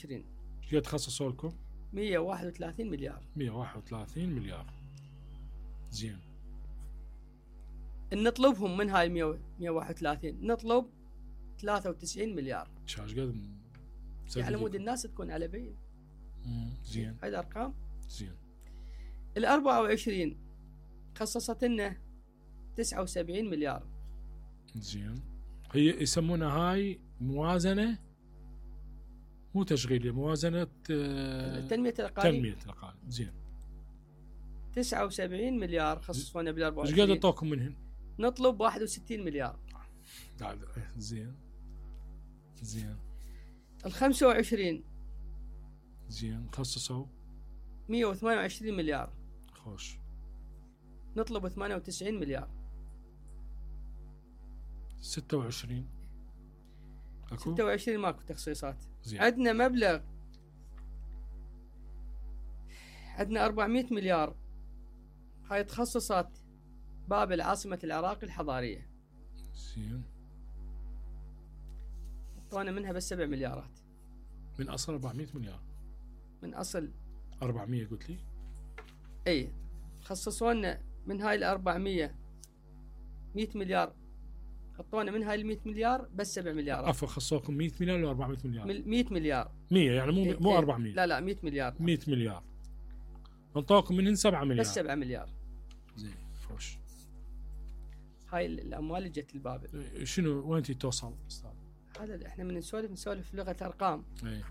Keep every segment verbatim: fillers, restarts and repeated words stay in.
عشرين ايش قد خصصوا لكم؟ مية وواحد وثلاثين مليار. مية وواحد وثلاثين مليار. زين. نطلبهم من هاي مية وواحد وثلاثين نطلب ثلاثة وتسعين مليار. شاش قد يعني مود الناس تكون على بين. امم زين. هاي الارقام. زين. ال أربعة وعشرين خصصت لنا تسعة وسبعين مليار. زين. هي يسمونها هاي موازنة مو تشغيلية، موازنة تنمية الأقاليم. تنمية الأقاليم. زين. تسعة وسبعين مليار خصصونا بال أربعة وعشرين. ايش قد اعطوكم منهن؟ نطلب واحد وستين مليار. زين. زين. ال خمسة وعشرين زين خصصوا مية وثمانية وعشرين مليار. خوش. نطلب ثمانية وتسعين مليار. ستة وعشرين اكو؟ ستة وعشرين ماكو تخصيصات. زين. عندنا مبلغ، عندنا أربعمية مليار. هاي تخصصات بابل عاصمة العراق الحضارية. زين. اعطونا منها بس سبع مليارات. من اصل أربعمية مليار. من اصل أربعمية قلت لي؟ اي خصصوا لنا من هاي ال أربعمية مية مليار. اعطونا من هاي ال مية مليار بس سبع مليارات. عفوا خصوكم مية مليار ولا أربعمية مليار؟ مية مليار. مية يعني مو إيه مو إيه أربعمية. لا لا مية مليار. مية مليار. انطوكم منهن سبعة مليار. بس سبعة مليار. زين خوش. هاي الاموال اللي جت لبابل. شنو وين توصل استاذ؟ هذا احنا من نسولف نسولف لغه ارقام. اي.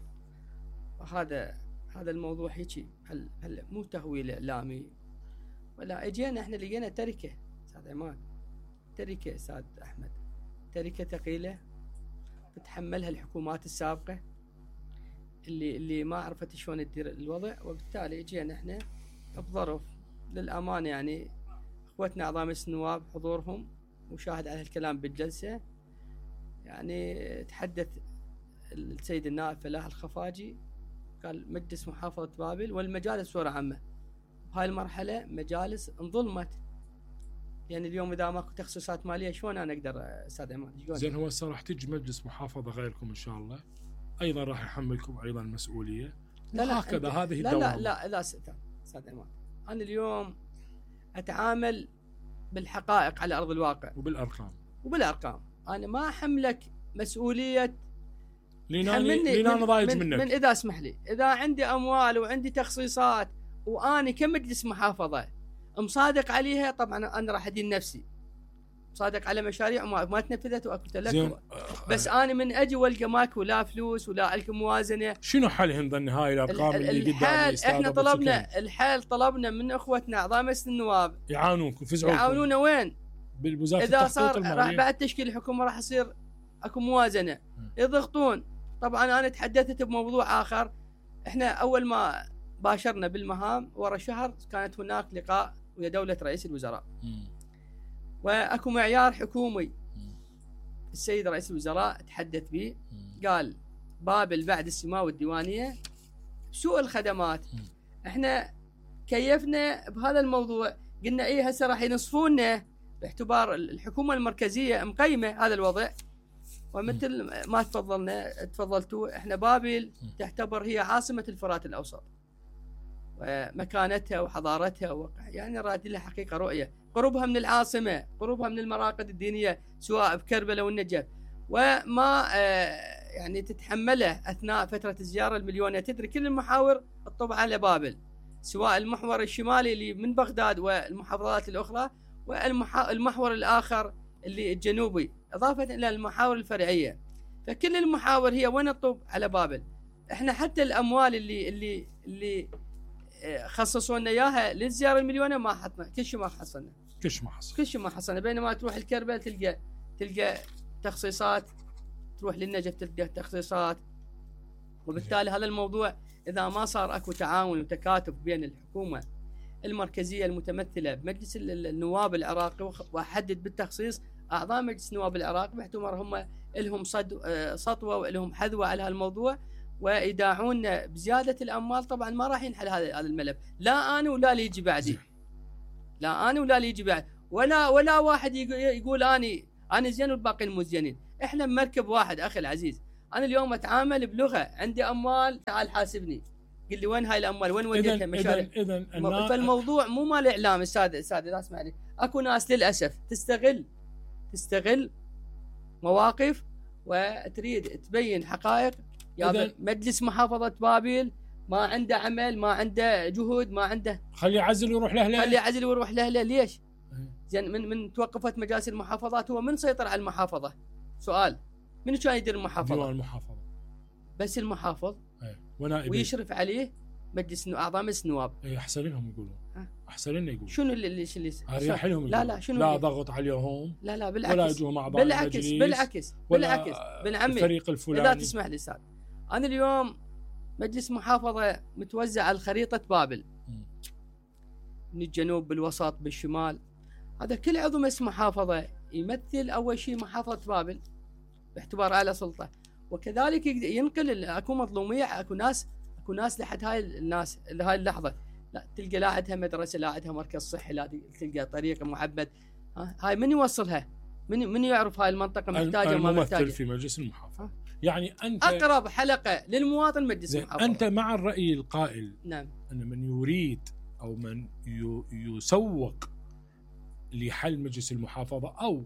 هذا هذا الموضوع هيجي هل هل مو تهويل اعلامي ولا اجينا احنا لقينا تركه استاذ عماد. تركه استاذ احمد. تركه ثقيله تتحملها الحكومات السابقه اللي اللي ما عرفت شلون تدير الوضع، وبالتالي اجينا احنا بظرف للامانه يعني اخوتنا اعضاء مجلس النواب حضورهم وشاهد على الكلام بالجلسه. يعني تحدث السيد النائب فلاح الخفاجي قال مجلس محافظه بابل والمجالس بصوره عامه بهاي المرحله مجالس انظلمت. يعني اليوم اذا ماكو تخصيصات ماليه شلون انا اقدر استاذ عماد؟ زين هو هسه راح تجي مجلس محافظه غيركم ان شاء الله ايضا راح يحملكم ايضا مسؤوليه. لا لا هكذا هذه لا الدوام. لا لا لا استاذ عماد، انا اليوم اتعامل بالحقائق على ارض الواقع وبالارقام وبالارقام. انا ما احملك مسؤوليه لين لين انا ضايج من منك. من اذا اسمح لي، اذا عندي اموال وعندي تخصيصات واني كمجلس محافظه مصادق عليها، طبعا انا راح ادين نفسي صادق على مشاريع ما, ما تنفذت واكو لك. بس انا من اجي والقى ماكو لا فلوس ولا الك موازنه. شنو حلهم ظن هاي الارقام اللي قدامي؟ احنا طلبنا الحل، طلبنا من اخوتنا اعضاء مجلس النواب يعاونونكم يفزعونكم. يعاونونا وين؟ بالوزاره اذا صار راح بعد تشكيل الحكومه راح يصير اكو موازنه م. يضغطون. طبعا انا تحدثت بموضوع اخر. احنا اول ما باشرنا بالمهام ورا شهر كانت هناك لقاء ويا دوله رئيس الوزراء م. واكو معيار حكومي م. السيد رئيس الوزراء تحدث به، قال بابل بعد السماء والديوانيه سوء الخدمات. م. احنا كيفنا بهذا الموضوع، قلنا ايه هسه راح ينصفونا باعتبار الحكومه المركزيه مقيمه هذا الوضع. ومثل ما تفضلنا تفضلتوا، احنا بابل تعتبر هي عاصمه الفرات الاوسط ومكانتها وحضارتها و... يعني راد لها حقيقه رؤيه، قربها من العاصمه، قربها من المراقد الدينيه سواء بكربلاء والنجف، وما آه يعني تتحمله اثناء فتره الزياره المليونيه. تدري كل المحاور الطبع على بابل، سواء المحور الشمالي اللي من بغداد والمحافظات الاخرى، والمحور الاخر اللي الجنوبي، اضافه الى المحاور الفرعيه. فكل المحاور هي وين الطب على بابل. احنا حتى الاموال اللي اللي اللي خصصوا لنا اياها للزياره المليونيه ما حطنا، كل شيء ما حصلنا، كل شيء ما حصل كل شيء ما حصلنا. بينما تروح الكربلاء تلقى تلقى تخصيصات، تروح للنجف تلقى تخصيصات. وبالتالي هذا الموضوع اذا ما صار اكو تعاون وتكاتف بين الحكومه المركزيه المتمثله بمجلس النواب العراقي، واحدد بالتخصيص اعضاء مجلس النواب العراقي باعتبار هم لهم سطوه ولهم حذوه على هالموضوع ويداعون بزياده الاموال، طبعا ما راح ينحل هذا هذا الملف. لا انا ولا اللي يجي بعدي، لا انا ولا اللي يجي بعد، ولا ولا واحد يقول اني انا زين والباقيين مو زينين. احنا مركب واحد اخي العزيز، انا اليوم اتعامل بلغه، عندي اموال تعال حاسبني، قل لي وين هاي الاموال، وين وديتها مشاريع. اذا اذا فالموضوع مو مال اعلام استاذ استاذ لا اسمعني، اكو ناس للاسف تستغل تستغل مواقف وتريد تبين حقائق. يا مجلس محافظه بابل ما عنده عمل، ما عنده جهود، ما عنده، خليه يعزل ويروح لاهله، خليه يعزل ويروح لاهله. ليش؟ زين من من توقفت مجالس المحافظات هو من سيطر على المحافظه؟ سؤال، من كان يدير المحافظه؟ ديوان المحافظه بس المحافظ ايه ونائب ويشرف عليه مجلس اعضاء مجلس النواب. اي احسن لهم يقولون، احسن لنا يقولون. شنو اللي اللي اللي اريح لهم؟ لا لا شنو لا ضغط عليهم، لا لا بالعكس، ولا يجوهم اعضاء بالعكس المجلس، بالعكس بالعكس بن عمي الفريق الفلاني. اذا تسمح لي استاذ، انا اليوم مجلس محافظه متوزع على خريطه بابل، من الجنوب بالوسط بالشمال، هذا كل عضو مجلس محافظه يمثل اول شيء محافظه بابل باعتبار اعلى سلطه، وكذلك ينقل. اكو مظلوميه، اكو ناس اكو ناس لحد هاي الناس لهاي اللحظه لا تلقى لا عندها مدرسه، لا عندها مركز صحي، لا تلقى طريق معبد. هاي من يوصلها؟ من من يعرف هاي المنطقه محتاجه وما محتاجه؟ الممثل في مجلس المحافظه. يعني انت اقرب حلقه للمواطن مجلس المحافظه. انت مع الراي القائل نعم ان من يريد او من يسوق لحل مجلس المحافظه، او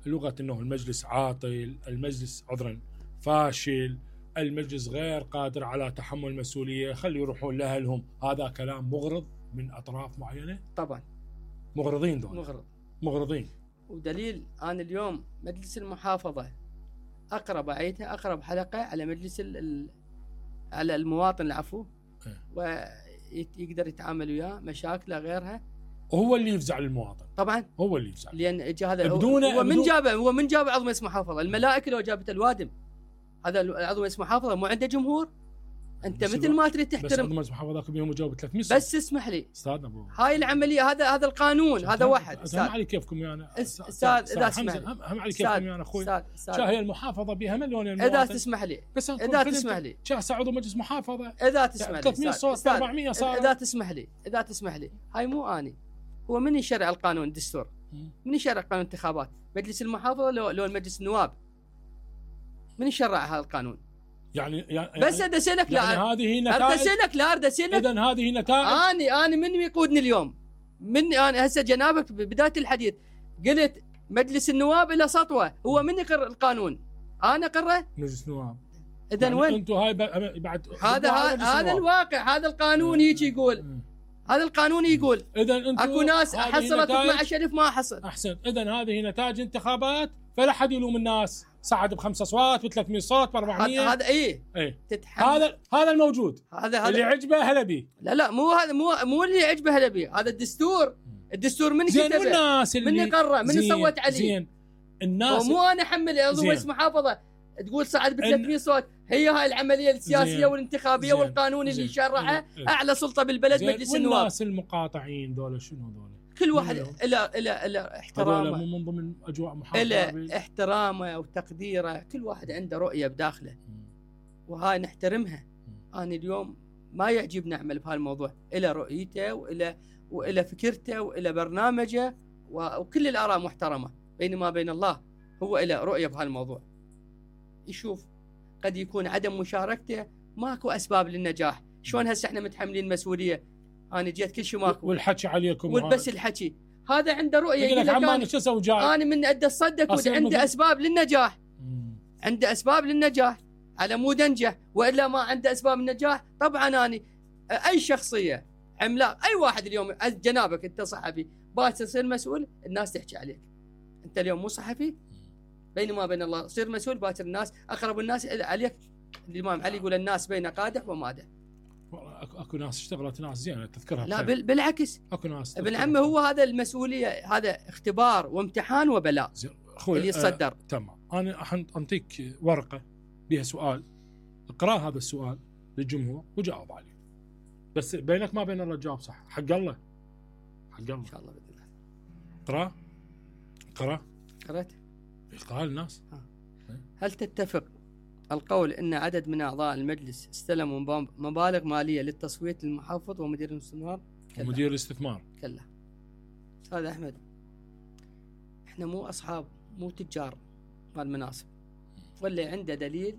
لغه انه المجلس عاطل، المجلس عذرا فاشل، المجلس غير قادر على تحمل المسؤوليه، خلي يروحون لاهلهم، هذا كلام مغرض من اطراف معينه؟ طبعا مغرضين دول، مغرض مغرضين. ودليل انا اليوم مجلس المحافظه اقرب اعيدها اقرب حلقه على مجلس ال على المواطن العفو، ويقدر يتعامل وياه مشاكله غيرها، وهو اللي يفزع للمواطن. طبعا هو اللي يفزع، لان اجى هذا بدون هو من بدون جابه هو من جاب عضو مجلس محافظه؟ الملائكه لو جابت الوادم. هذا عضو مجلس محافظه مو عنده جمهور، انت مثل ما تريد تحترم. بس عضو مجلس محافظه كم يوم يجاوب ثلاثمية صوت. بس اسمح لي استاذ ابو هاي العمليه، هذا هذا القانون، هذا واحد استاذ. هم علي كيفكم يا انا استاذ اذا تسمح لي، هم علي كيفكم يا انا اخوي. شا هي المحافظه بها مليون المواطن. اذا تسمح لي بس اذا تسمح لي شا عضو مجلس محافظه اذا تسمح لي ثلاثمية صوت أربعمية صار. اذا تسمح لي اذا تسمح لي هاي مو اني، هو من يشرع القانون الدستور؟ من يشرع قانون الانتخابات؟ مجلس المحافظه لو لو المجلس النواب؟ من يشرع هذا القانون؟ يعني, يعني بس اريد اسالك، لا يعني هذه نتائج، اريد اسالك لا اريد اسالك اذا هذه نتائج. اني اني من يقودني اليوم؟ من انا هسه جنابك ببدايه الحديث قلت مجلس النواب له سطوه، هو من يقر القانون؟ انا اقره؟ مجلس النواب. اذا يعني وين انتم هاي بعد هذا هذا الواقع، هذا القانون هيك يقول، هذا القانون يقول. اذا انتم اكو ناس حصلت اثني عشر ألف ما حصل. احسن. اذا هذه نتائج انتخابات، فلا حد يلوم الناس، صعد بخمسة اصوات بثلاثمية صوت بأربعمية. هذا ايه ايه تتحمل. هذا هذا الموجود، هذا هذا اللي عجبه هلا بيه. لا لا مو هذا مو مو اللي عجبه هلا بيه، هذا الدستور. الدستور من زين كتبه؟ والناس اللي من قرر؟ من صوت عليه؟ زين الناس، ومو انا احمل عضو مجلس محافظه تقول صعد ب ثلاثمية صوت. هي هاي العمليه السياسيه زين. والانتخابيه زين. والقانون اللي شرعه اعلى سلطه بالبلد مجلس النواب. والناس المقاطعين دول شنو دول؟ كل واحد له له له احترامه، مو من ضمن اجواء محافظه، له احترامه وتقديره، كل واحد عنده رؤيه بداخله وهاي نحترمها. انا اليوم ما يعجبني اعمل بهالموضوع، له رؤيته وله وله فكرته وله برنامجه، وكل الاراء محترمه، بينما بين الله هو له رؤيه بهالموضوع. يشوف قد يكون عدم مشاركته ماكو اسباب للنجاح. شلون هسه احنا متحملين المسؤوليه؟ انا جيت كل شيء ماكو والحكي عليكم والبس الحكي، هذا عنده رؤيه. يقول لك عمان شو اسوي جاي؟ انا من ادى الصدق عنده اسباب للنجاح، عنده اسباب للنجاح على مود انجح، والا ما عنده اسباب النجاح. طبعا انا اي شخصيه عملاق، اي واحد اليوم جنابك انت صحفي باكر تصير مسؤول، الناس تحكي عليك. انت اليوم مو صحفي، بينما بين الله صير مسؤول، باكر الناس اقرب الناس عليك. الامام علي يقول الناس بين قادح ومادح. اكو ناس اشتغلت ناس زينه تذكرها. لا بالعكس، اكو ناس ابن عمي هو هذا المسؤوليه، هذا اختبار وامتحان وبلاء اللي يتصدر. آه تمام. انا انطيك ورقه بها سؤال، اقرا هذا السؤال للجمهور وجاوب عليه، بس بينك ما بين الله تجاوب صح، حق الله، حق الله ان شاء الله باذن الله. اقرا اقرا قرأت. اقرا للناس. هل تتفق القول ان عدد من اعضاء المجلس استلموا مبالغ ماليه للتصويت للمحافظ ومدير الاستثمار؟ ومدير الاستثمار؟ كلا. استاذ احمد، احنا مو اصحاب، مو تجار مال مناصب، واللي عنده دليل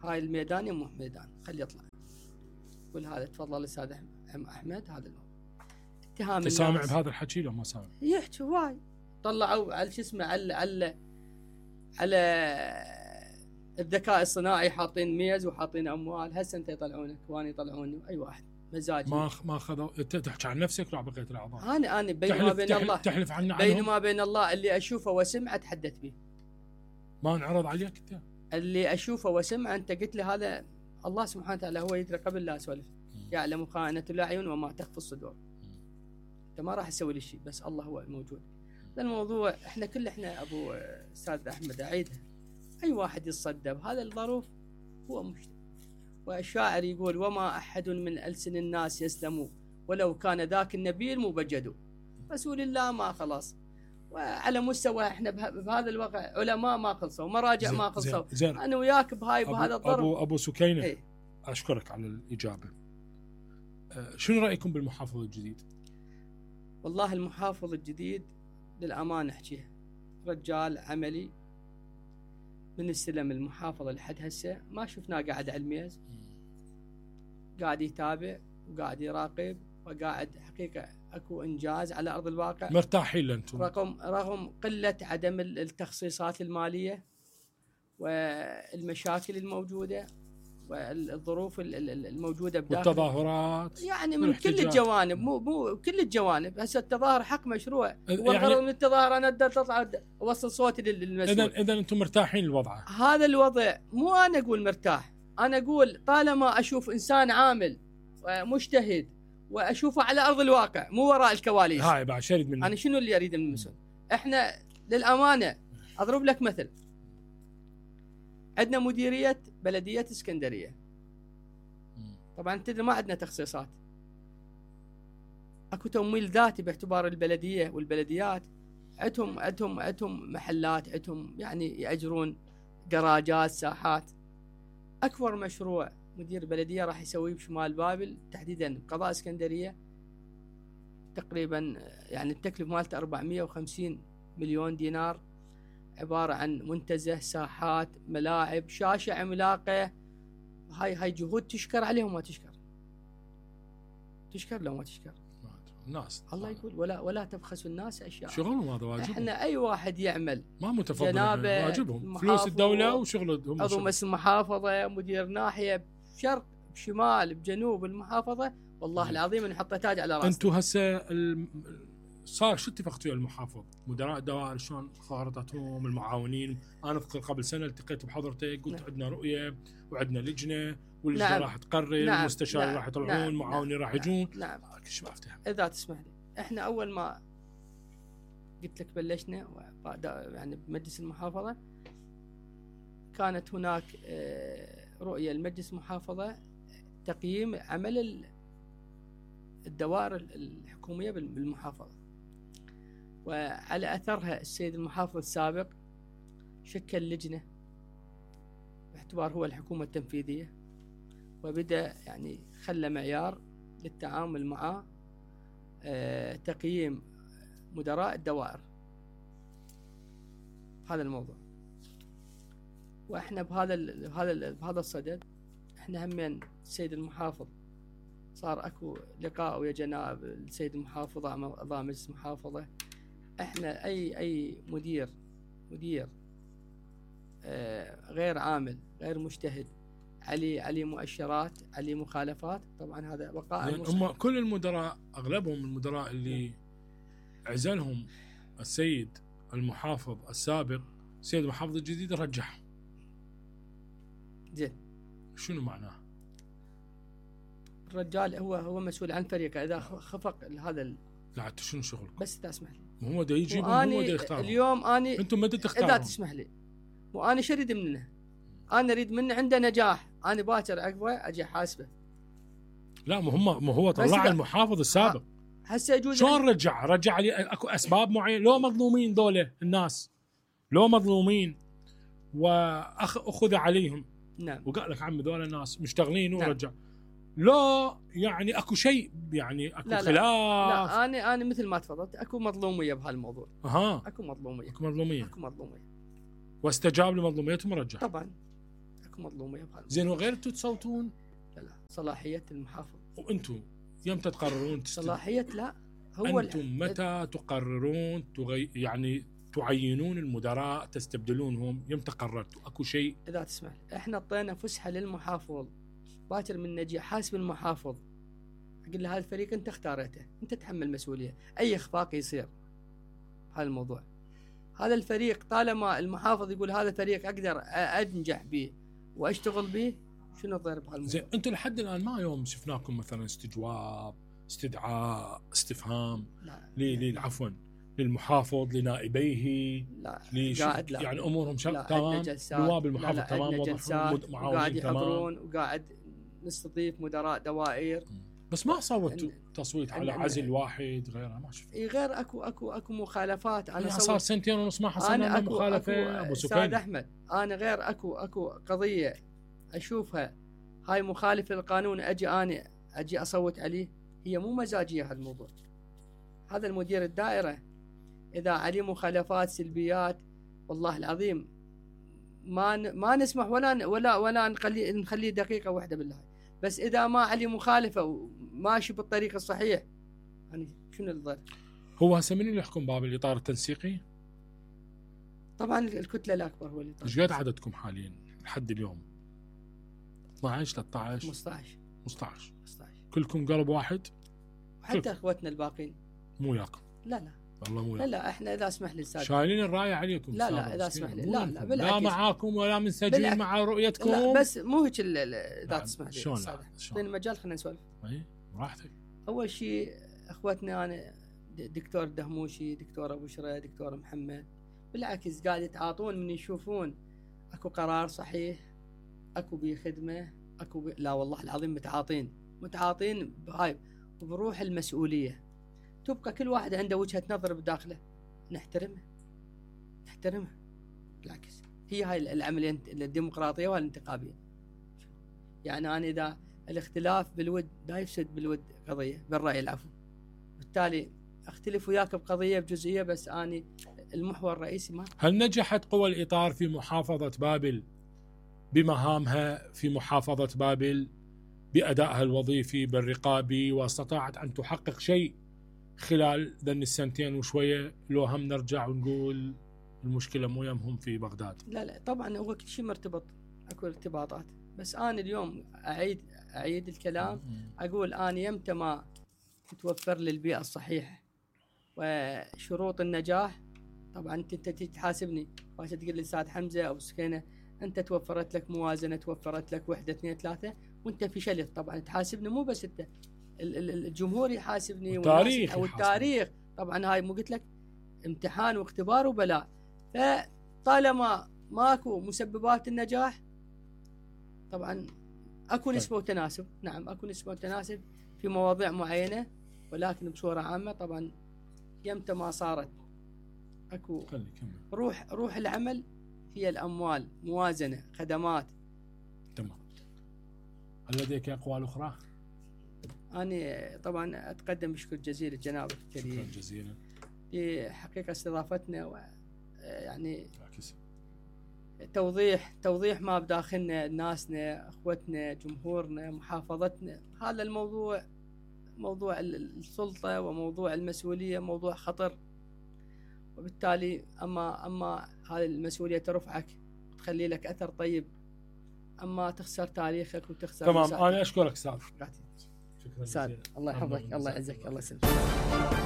هاي الميدان يمه ميدان خلي يطلع. قول هذا تفضل استاذ احمد هذا الموضوع. اتهام سامع الناس بهذا الحكي لو ما سامع؟ يحكي هواي. طلعوا على شو اسمه على على على الذكاء الصناعي حاطين ميز وحاطين اموال. هسه انت يطلعونك وانا يطلعوني اي واحد مزاجي. ما ما اخذوا. انت تحكي عن نفسك ولا بقيه الاعضاء؟ انا انا بين ما بين تحلف الله تحلف عن بين ما بين الله اللي اشوفه واسمعه اتحدث به. ما انعرض عليك انت؟ اللي اشوفه واسمعه انت قلت لي هذا الله سبحانه وتعالى هو يدري قبل لا اسولف. يعلم خائنة الاعين وما تخفي الصدور. انت ما راح تسوي لي شيء بس الله هو الموجود. الموضوع احنا كل احنا ابو استاذ احمد اعيدها اي واحد يتصدى بهذا الظروف هو مشتري. والشاعر يقول وما احد من السن الناس يسلم ولو كان ذاك النبي المبجد. رسول الله ما خلاص. وعلى مستوى احنا بهذا الوقت علماء ما خلصوا مراجع ما خلصوا. انا وياك بهاي بهذا الظرف. ابو ابو سكينه ايه؟ اشكرك على الاجابه. أه شنو رايكم بالمحافظ الجديد؟ والله المحافظ الجديد للامانه احكيها رجال عملي. من استلم المحافظه لحد هسه ما شفناه قاعد على الميز. قاعد يتابع وقاعد يراقب وقاعد حقيقه اكو انجاز على ارض الواقع. مرتاحين لانتم رغم رغم قله عدم التخصيصات الماليه والمشاكل الموجوده والظروف الموجوده بداخل والتظاهرات يعني من كل الجوانب. مو مو كل الجوانب. هسه التظاهر حق مشروع والغرض يعني من التظاهر انا تطلع اوصل صوتي للمسؤول. اذا اذا انتم مرتاحين الوضع؟ هذا الوضع مو انا اقول مرتاح. انا اقول طالما اشوف انسان عامل ومجتهد واشوفه على ارض الواقع مو وراء الكواليس. هاي بعد شريد منه. انا شنو اللي اريد من المسؤول؟ احنا للامانه اضرب لك مثل. عندنا مديريه بلديه اسكندريه. طبعا تدري ما عندنا تخصيصات. اكو تمويل ذاتي باعتبار البلديه والبلديات عندهم عندهم عندهم محلات عندهم يعني ياجرون جراجات ساحات. اكبر مشروع مدير بلديه راح يسويه بشمال بابل تحديدا قضاء اسكندريه تقريبا يعني التكلفه مالته أربعمئة وخمسين مليون دينار. عباره عن منتزه ساحات ملاعب شاشه عملاقه. هاي هاي جهود تشكر عليهم ما تشكر. تشكر لو ما تشكر الناس. الله يقول ولا ولا تبخسوا الناس اشياء. شغلهم هذا واجبهم. احنا اي واحد يعمل ما متفضل واجبهم. فلوس الدوله وشغلهم. عضو مجلس المحافظه مدير ناحيه بشرق بشمال بجنوب المحافظه والله العظيم نحط تاج على راسنا. انتم هسه الم... صار شو اتفقتوا ويا المحافظ؟ مدراء الدوائر شلون خارطتهم المعاونين؟ انا اذكر قبل سنه التقيت بحضرتك قلت نعم. عندنا رؤيه وعندنا لجنه واللجنه نعم. راح تقرر نعم. المستشار نعم. راح يطلعون نعم. المعاونين نعم. راح يجون. نعم ايش ما افتهم. اذا تسمح لي احنا اول ما قلت لك بلشنا يعني بمجلس المحافظه كانت هناك رؤيه لمجلس المحافظه تقييم عمل الدوائر الحكوميه بالمحافظه. وعلى اثرها السيد المحافظ السابق شكل لجنه باعتبار هو الحكومه التنفيذيه وبدا يعني خلى معيار للتعامل مع تقييم مدراء الدوائر. هذا الموضوع. واحنا بهذا بهذا بهذا الصدد احنا همين السيد المحافظ صار اكو لقاء ويا جناب السيد المحافظ اعضاء مجلس المحافظه. احنا اي اي مدير مدير آه غير عامل غير مجتهد عليه عليه مؤشرات عليه مخالفات طبعا هذا بقاء. هم كل المدراء اغلبهم المدراء اللي عزلهم السيد المحافظ السابق السيد المحافظ الجديد رجعهم. زين شنو معناه؟ الرجال هو هو مسؤول عن فريقه اذا خفق هذا ال... لا انت شنو شغلك؟ بس تسمح لي. هو دا يجيبهم هو دا يختارهم. اليوم اني انتم ما تختارون. اذا تسمح لي وانا شو اريد منه؟ انا اريد منه عنده نجاح. انا باكر عقبه اجي احاسبه. لا ما هم ما هو طلع المحافظ السابق. هسه يجوز شلون رجع؟ رجع لي اكو اسباب معينه. لو مظلومين ذولا الناس لو مظلومين واخذ عليهم. نعم. وقال لك عمي ذولا الناس مشتغلين ورجع. نعم. لا يعني اكو شيء يعني اكو لا خلاف. لا, لا انا انا مثل ما تفضلت اكو مظلوميه بهالموضوع. اها اكو مظلوميه اكو مظلوميه اكو مظلوميه واستجاب لمظلوميتهم ورجع. طبعا اكو مظلوميه بهذا. زين وغير انتم تصوتون؟ لا لا صلاحيه المحافظ. وانتم يمتى تقررون تست... صلاحيه لا هو انتم متى تقررون تغي... يعني تعينون المدراء تستبدلونهم؟ يمتى قررتوا؟ اكو شيء؟ اذا تسمح احنا اعطينا فسحه للمحافظ باكر من نجي حاسب المحافظ اقول له هذا الفريق انت اختارته، انت تحمل مسؤوليه اي اخفاق يصير هذا الموضوع. هذا الفريق طالما المحافظ يقول هذا الفريق اقدر انجح به واشتغل به، شنو الضير بهالموضوع؟ زين انتم لحد الان ما يوم شفناكم مثلا استجواب، استدعاء، استفهام ل عفوا للمحافظ لنائبيه؟ لا ليش قاعد لا يعني امورهم شغ... تمام، نواب المحافظ لا لا تمام وضحوا وقاعد يحضرون وقاعد نستضيف مدراء دوائر. بس ما صوتوا تصويت على عزل واحد غيره؟ ما شفت. اي غير اكو اكو اكو مخالفات. انا صار سنتين ونص ما حصلنا مخالفه ابو سفيان. استاذ احمد انا غير اكو اكو قضيه اشوفها هاي مخالفه للقانون اجي انا اجي اصوت عليه، هي مو مزاجيه هالموضوع. هذا المدير الدائره اذا عليه مخالفات سلبيات والله العظيم ما ما نسمح ولا ولا ولا نخليه نخليه دقيقه واحده بالله. بس اذا ما عليه مخالفه وماشي بالطريق الصحيح يعني شنو الضرر؟ هو هسه من اللي يحكم باب الاطار التنسيقي؟ طبعا الكتله الاكبر هو اللي. ايش قد عددكم حاليا لحد اليوم؟ اثنعش ثلاثة عشر خمسطعش خمسطعش خمسطعش كلكم قلب واحد؟ حتى اخوتنا الباقين مو ياكم؟ لا لا والله مو لا لا احنا اذا اسمح لي استاذ شايلين الرايه عليكم. لا لا اذا اسمح لي لا لا بالعكس لا معاكم ولا منسجمين مع رؤيتكم. لا بس مو هيك اذا تسمح لي. شلون اعطيني المجال خلينا نسولف. اي براحتك. اول شيء اخوتنا انا دكتور دهموشي، دكتور ابو شري، دكتور محمد بالعكس قاعد يتعاطون من يشوفون اكو قرار صحيح، اكو بيه خدمه، اكو بي... لا والله العظيم متعاطين متعاطين بهاي وبروح المسؤوليه. تبقى كل واحد عنده وجهه نظر بداخله نحترمها نحترمها بالعكس. هي هاي العمليه الديمقراطيه والانتخابيه. يعني انا اذا الاختلاف بالود لا يفسد بالود قضيه بالراي العفو، بالتالي اختلف وياك بقضيه بجزئيه بس اني المحور الرئيسي ما. هل نجحت قوى الاطار في محافظه بابل بمهامها في محافظه بابل بادائها الوظيفي بالرقابي واستطاعت ان تحقق شيء خلال ذن السنتين وشويه؟ لو هم نرجع ونقول المشكله مو يمهم في بغداد. لا لا طبعا هو كل شيء مرتبط، اكو ارتباطات. بس انا اليوم اعيد اعيد الكلام اقول انا يمتى ما تتوفر لي البيئه الصحيحه وشروط النجاح. طبعا انت تحاسبني باش تقول لي استاذ حمزه او سكينه انت توفرت لك موازنه، توفرت لك وحده اثنين ثلاثه وانت فشلت. طبعا تحاسبني مو بس انت، الجمهور يحاسبني والتاريخ او التاريخ. طبعا هاي مو قلت لك امتحان واختبار وبلاء. فطالما ماكو مسببات النجاح طبعا اكو نسبه وتناسب. نعم اكو نسبه وتناسب في مواضيع معينه، ولكن بصوره عامه طبعا يمتى ما صارت اكو روح روح العمل هي الاموال، موازنه، خدمات. تمام. هل لديك اقوال اخرى؟ أنا طبعا أتقدم بشكر جزيل جنابك الكريم. شكرا جزيلا. لحقيقة استضافتنا و يعني توضيح توضيح ما بداخلنا، ناسنا، أخوتنا، جمهورنا، محافظتنا. هذا الموضوع موضوع السلطة وموضوع المسؤولية موضوع خطر، وبالتالي أما أما هذه المسؤولية ترفعك وتخلي لك أثر طيب، أما تخسر تاريخك وتخسر. تمام. أنا أشكرك أستاذ. شكرا. الله يحفظك، الله يعزك، الله يسلمك.